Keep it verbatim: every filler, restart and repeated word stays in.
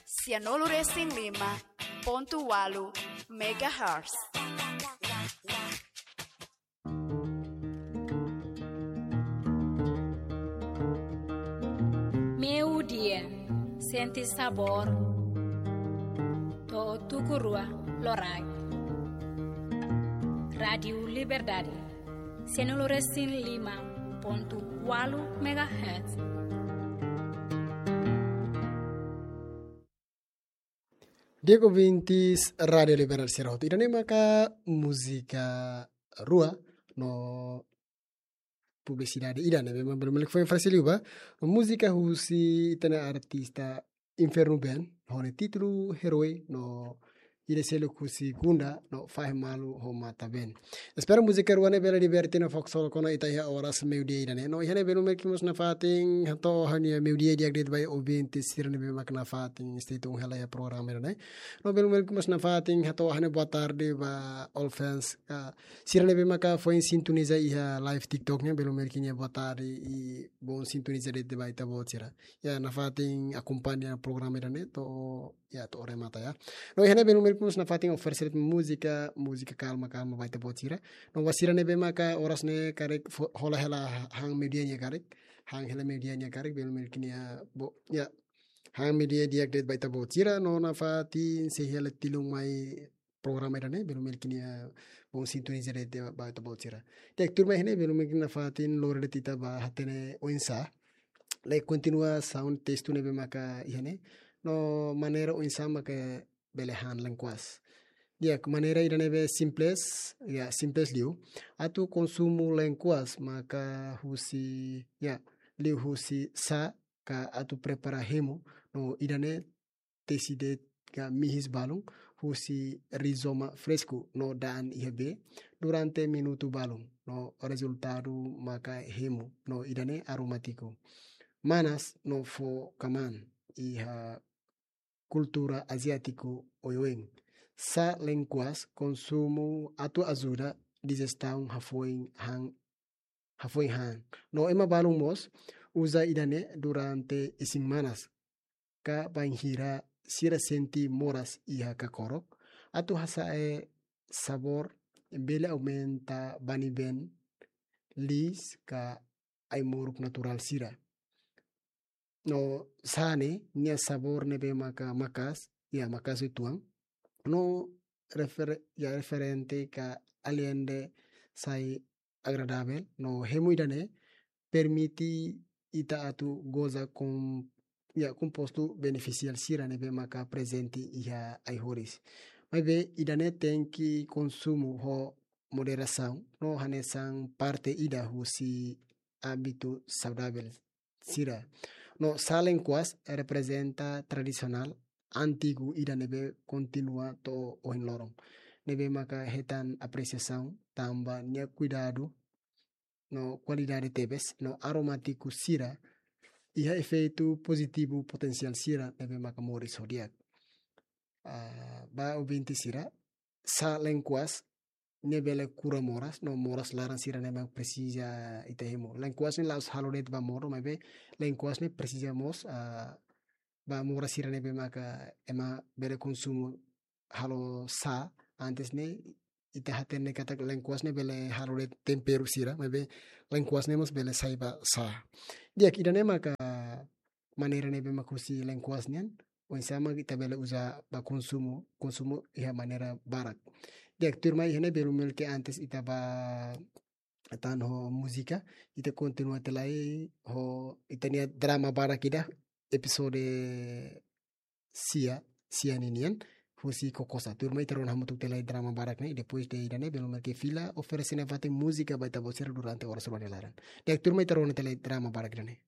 Sianulu resin lima pontu walu megahertz. Meiudia, sente sabór to'o tuku rua loraik. Rádiu Liberdade, sianulu resin lima pontu walu megahertz. Di'ak ouvintes Rádiu Liberdade sira hotu, ida-ne'e maka múzika rua no publisidade ida ne'ebé mak belun malik foin oferese liu ba. No múzika husi ita-nia artista Inferno Band, ho nia títulu Herói, no ida seluk husi Gunda, no Fahe Malu ho Mata Band. Espera múzika rua ne'e bele diverte no fó ksolok ona ita iha oras meiudia ida-ne'e. No iha ne'e belun malik mós nafatin hato'o ha'u-nia meiudia di'ak de'it ba ouvinte sira ne'ebé mak nafatin stay tune hela iha programa ida-ne'e. No belun malik mós nafatin hato'o ha'u-nia boa tarde ba all fans, ah, sira ne'ebé maka foin sintoniza iha live TikTok nian, belun malik nia boa tarde i bom sintoniza de'it ba ita-boot sira. Ya, nafatin akompaña programa ida-ne'e to'o, ya, to'o remata ya. No iha ne'e belun malik mós nafatin oferese de'it múzika, múzika kalma, kalma ba ita-boot sira. No ba sira ne'ebé maka oras ne'e karik fo-, hola hela han meiudia nia karik, han hela meiudia nia karik, belun malik nia bo-, ya, han meiudia di'ak de'it ba ita-boot sira, no nafatin sei hela tilun mai programa ida-ne'e, belun malik nia bom sintoniza de'it ba ita-boot sira. Di'ak, tuirmai iha ne'e belun malik nafatin lori de'it ita ba hatene oinsá lee kontinuasaun testu ne'ebé maka iha ne'e, no maneira oinsá maka bele han lenkuas. Di'ak, maneira ida ne'ebé simples, ya, simples liu. Atu konsumu lenkuas maka husi, ya, liuhusi sá ka atu prepara hemu, no ida-ne'e tesi de'it ka mihis balun husi rizoma fresku no da'an iha bee durante minutu balun, no rezultadu maka hemu, no ida-ne'e aromátiku. Manas no fó kmaan iha kultura aziátiku oioin. Sá lenkuas konsumu atu ajuda dijestaun hafoin han, hafoin han. No ema balun mós uza ida-ne'e durante isin-manas ka bainhira sira sente moras iha kakorok, atu hasa'e sabór bele aumenta banibeen liis ka ai-moruk naturál sira. No sá ne'e nia sabór ne'ebé maka maka'as, ya, maka'as uitoan. No refere-, ya, diferente ka alende sai agradavel, no hemu ida-ne'e permite ita atu goza kom-, ya, kompostu benefisiál sira ne'ebé maka prezente iha ai-horis. Maibé ida-ne'e tenke konsumu ho moderasaun, no hanesan parte ida husi hábitu saudavel sira. No sá lenkuas reprezenta tradisionál antigu ida ne'ebé kontinua to'o ohin loron. Ne'ebé maka hetan apresiasaun tanba nia kuidadu no kualidade tebes, no aromátiku sira iha efeitu pozitivu potensiál sira ne'ebé maka moris ho di'ak. Ah, ba ouvinte sira, sá lenkuas ne'e bele kura moras, no moras laran sira ne'ebé mak presiza ita hemu. Lenkuas ne'e la'ós halo de'it ba modo, maibé lenkuas ne'e presiza mós, ah, ba moras sira ne'ebé maka ema bele konsumu halo sá, antes ne'e ita hatene katak lenkuas ne'e bele halo de'it temperu sira, maibé lenkuas ne'e mós bele sai ba sá. Di'ak, ida-ne'e maka maneira ne'ebé mak husi lenkuas nian, oinsá mak ita bele uza ba konsumu, konsumu iha maneira barak. Di'ak, tuirmai iha ne'e belun malik antes ita ba tan ho múzika, ita kontinua tiha lai ho ita-nia drama badak ida, episode sia, sia ninian, husi Kokosa. Tuirmai ita rona hamutuk tiha lai drama badak ne'e, i depois de ida-ne'e, belun malik fila oferese nafatin múzika ba ita-boot sira durante oras rua nia laran. Di'ak, tuirmai ita rona tiha lai drama badak ida-ne'e.